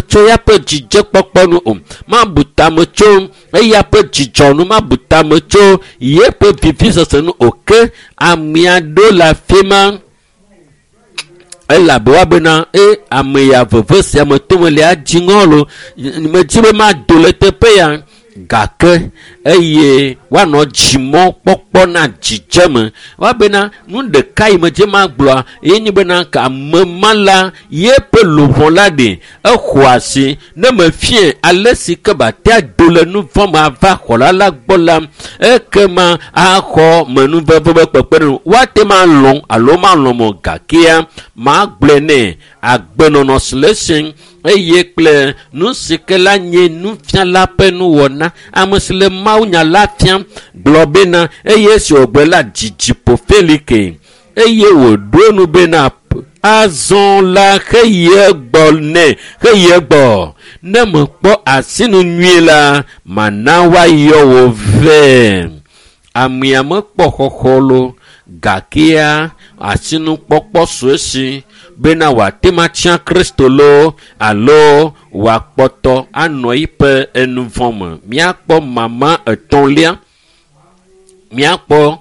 Tso ya ƒe dzidzekpɔkpɔ nu o, mabu tame tso eya ƒe dzidzɔ nu, mabu tame tso yeƒe vivisese nu o. Ke amea ɖo le afi ma elabe woabena e ame ya veve sia me tome le adzi ŋɔ lo medzi be mado le teƒe ya gake eye woanɔ dzimɔ kpɔkpɔ na dzidzeme. Woabena nu ɖeka yi medze magblɔa ye nye bena ke ame ma la yeƒe luʋɔ la ɖe exɔ asi ne mefie ale si ke bate ado le nu vɔ̃ me ava xɔla la gbɔ la ekema axɔ menuveve be kpekpeɖeŋu. Woate ma lɔ̃ alo malɔ̃ mo gakea magblɔe nɛ agbenɔnɔ si le esi eye kple nu si ke la nye nufiala ƒe nuwɔna. Ame si le mawunya la fiam gblɔ bena eye esi wògblɔ la dzidziƒo Felike eye wòɖo nu bena azɔ la xeyi egbɔ nɛ xeyi egbɔ ne mekpɔ asinu nyuie la mana woayɔ wò vɛ. Amea mekpɔ xɔxɔ lo gakea asinukpɔkpɔ sue si bena wòate ma tia Kristo lo alo wòakpɔtɔ anɔ eƒe enuvɔ̃ me. Míakpɔ mama etɔ̃lia, míakpɔ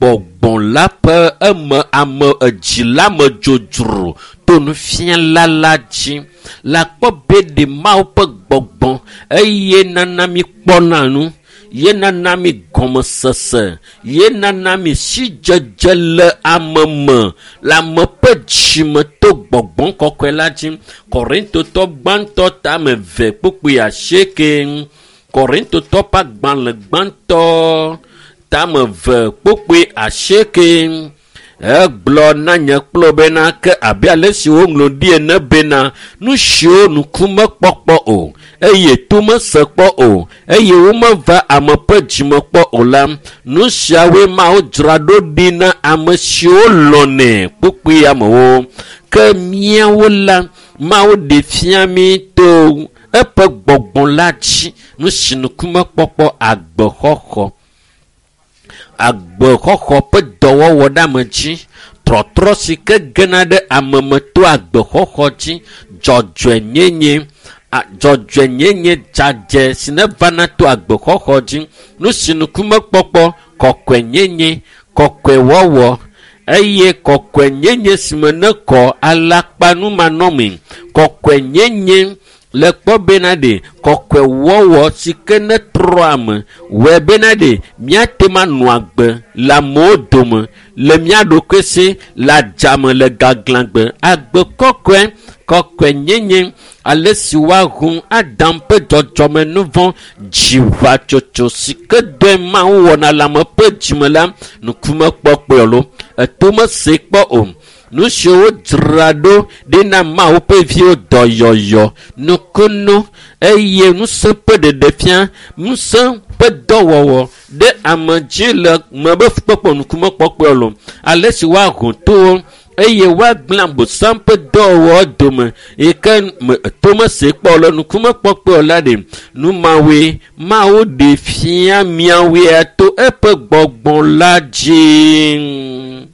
gbɔgbɔ la ƒe eme ame edzi la me dzodzro to nufiala la dzi. Le akpɔ be ɖe Mawu ƒe gbɔgbɔ eye nana mi kpɔna nu, ye nana mi gɔmesese, ye nana mi sidzedze le ame me, le ame ƒe dzime to gbɔgbɔ kɔkɔe la dzi. Korintotɔ gbãtɔ tame 2 kpukpui 8. Korintotɔ ƒe agbalẽ gbãtɔ tame 2 kpukpui 8. Egblɔ na nye kplɔ bena ke abe ale si woŋlɔ ɖi ene bena nu siwo nuku mekpɔkpɔ o eye to mese kpɔ o eye womeva ame ƒe dzime kpɔ o la, nu siawoe Mawu dzra ɖo ɖi na ame siwo lɔ̃nɛ kpukpui amewo. Ke míawo la, Mawu ɖe fia mí to eƒe gbɔgbɔ la dzi nu si nuku mekpɔkpɔ agbexɔxɔ. Agbexɔxɔ ƒe dɔwɔwɔ ɖe ame dzi, trɔtrɔ si ke gena ɖe ame me to agbexɔxɔ dzi, dzɔdzɔenyenye, dzɔdzɔenyenye dzadzɛ si ne vana to agbexɔxɔ dzi, nu si nuku mekpɔkpɔ, kɔkɔenyenye, kɔkɔewɔwɔ eye kɔkɔenyenye si me ne kɔ alakpanumanɔmee, kɔkɔenyenye le kpɔ bena ɖe kɔkɔewɔwɔ si ke ne trɔ ame wɔe bena ɖe míate ma nɔ agbe le amewo dome le mía ɖokui si le adzame le gaglãgbe. Agbe kɔkɔe, kɔkɔenyenye, ale si woahu Adam ƒe dzɔdzɔme nuvɔ̃ dziʋatsotso si ke dɔe Mawu wɔna le ame ƒe dzime la nuku mekpɔkpɔe lo, eto mese kpɔ o. Nu siwo dzra ɖo ɖi na Mawu ƒe viwo dɔyɔyɔ, nukunu eye ŋusẽ ƒe ɖeɖefia, ŋusẽ ƒe dɔwɔwɔ ɖe ame dzi le me be fukpekpe nukumekpɔkpɔe lo. Ale si woaho towo eye woagblẽ Abosam ƒe dɔwɔwɔ dome yi ke me to mese kpɔ le nukumekpɔkpɔe la ɖe. Nu mawoe Mawu ɖe fia miawoe to eƒe gbɔgbɔ la dzi.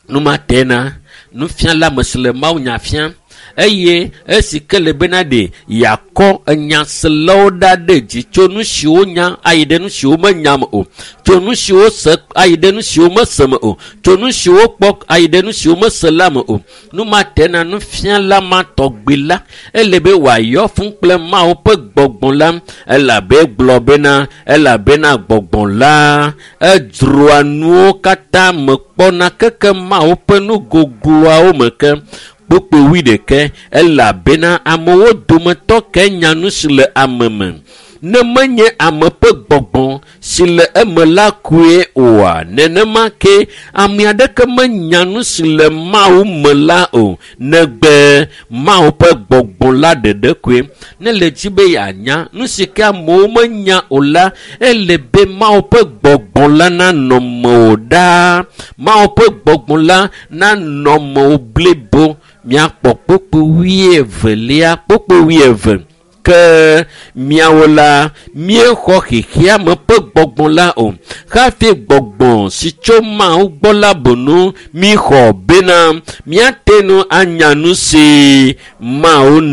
Nu ma tena nufiala me si le mawunya fiam eye esi ke le bena ɖe yeakɔ enyaselawo ɖa ɖe dzi tso nu siwo nya ayi ɖe nu siwo menya me o, tso nu siwo se ayi ɖe nu siwo mese me o, tso nu siwo kpɔ ayi ɖe nu siwo mese la me o. Nu ma tena nufiala ma tɔgbi la ele be wòayɔ fũ kple Mawu ƒe gbɔgbɔ la elabe gblɔ bena elabena gbɔgbɔ la edzroa nuwo katã me kpɔna keke Mawu ƒe nu gogloawo me ke. Kpukpui 21 elabena amewo dometɔ ke nya nu si le ame me. Ne menye ame ƒe gbɔgbɔ si le eme la koe oa, nenema ke ame aɖeke menya nu si le Mawu me la o, negbe Mawu ƒe gbɔgbɔ la ɖeɖe koe. Ne le dzi be yeanya nu si ke amewo menya o la, ele be Mawu ƒe gbɔgbɔ la nanɔ mewò ɖaa. Mawu ƒe gbɔgbɔ la nanɔ mewò blibo. Míakpɔ kpukpui 22, kpukpui 22. Ke miawo la míexɔ xexeame ƒe gbɔgbɔ la o, hafi gbɔgbɔ si tso Mawu gbɔ la bonu míxɔ bena míate ŋu anya nu si Mawu na.